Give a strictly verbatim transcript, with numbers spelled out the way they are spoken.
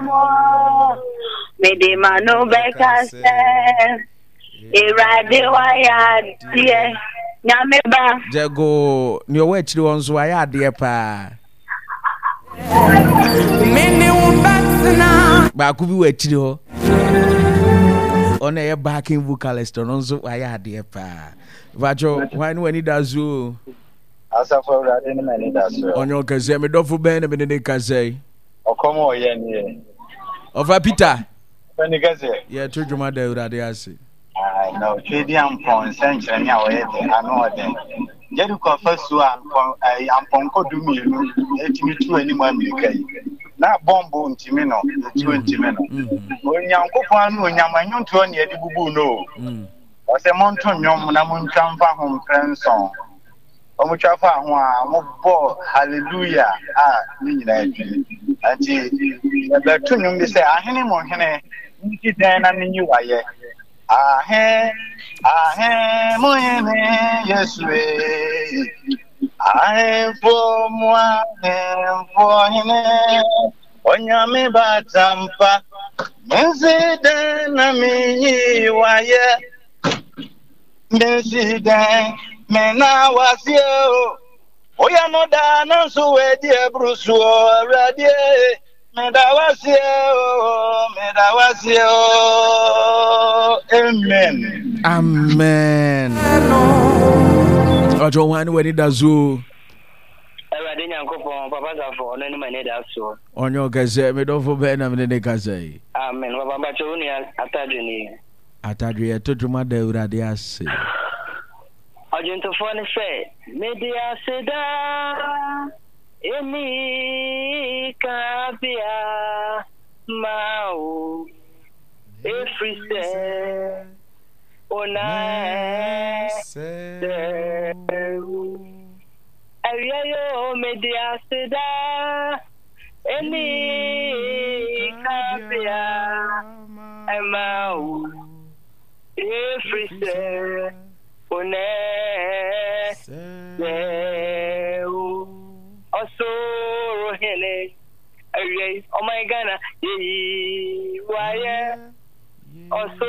mo. Mede m'ano bɛka sɛ Awurade wayɛ adeɛ. Nyame ba. Gyɛgoo, nea ɔwɔ akyiri hɔ nso wayɛ adeɛ paa. Baako bi wɔ akyiri hɔ. Ɔno ɛyɛ backing vocalist, ɔno nso wayɛ adeɛ paa. Mpakyɛw, hwan ne w'ani da so o? Asafo Awurade ne m'ani da so. Ɔnyɛ ɔkɛseɛ, me dɔfo bɛn na mene ne kasa yi? Ɔkɔm a ɔyɛ nie. Ɔfa Peter. Ɔfɛ ne kɛseɛ. Yɛto dwom ada Awurade ase. Na ɔtwe di ampɔn nsɛnkyerɛnne a ɔyɛ de ano ɔden. Jericho afasuo a ampɔnkɔ du mmienu etumi tu anim amirika yi. Na bɔmbo ntumi no, etuo ntumi no. Onyankopɔn ano onyam ɛnwontoɔ ne yɛde bubu no o. Ɔsɛ monto nnwom na montwa mfa ho mprɛ nson. Wɔtwa faa ho a, wɔbɔɔ hallelujah a ne nyinaa dwene. Nti yɛbɛto nnwom bi sɛ ahene mu hene nti dɛn na menyi wayɛ. Ahe, ahe mu hene Yesu e. Ahemfo mu ahemfo hene Onyame batampa. Mensi dɛn na menyi wayɛ. Mensi dɛn mena waseɛ o. Woyɛ no daa nanso wadi aburu soɔ Awurade meda waseɛ o meda waseɛ o. Amen. Amen. Ɔkyɛ hwan ne w'ani da so? Awurade Nyankopɔn, Papa Safo, ɔno ne m'ani da soɔ. Ɔnyɛ ɔkɛseɛ, me dɔfo bɛn na mene ne kasa yi? Amen. Papa mpakyɛ wo nua Atadwe nie. Atadwe yɛto dwom ada Awurade ase. Ɔdwontofoɔ no sɛ, Mede aseda ɛni kabea ma wo, ɛfiri sɛ wo na ɛsɛ wo. Awia yo, mede aseda ɛni kabea ɛma wo, ɛfiri sɛ wo na ɛsɛ wo. Ɔsoro hene, awia yi, ɔman Ghana, yɛyi wayɛ. Ɔsoro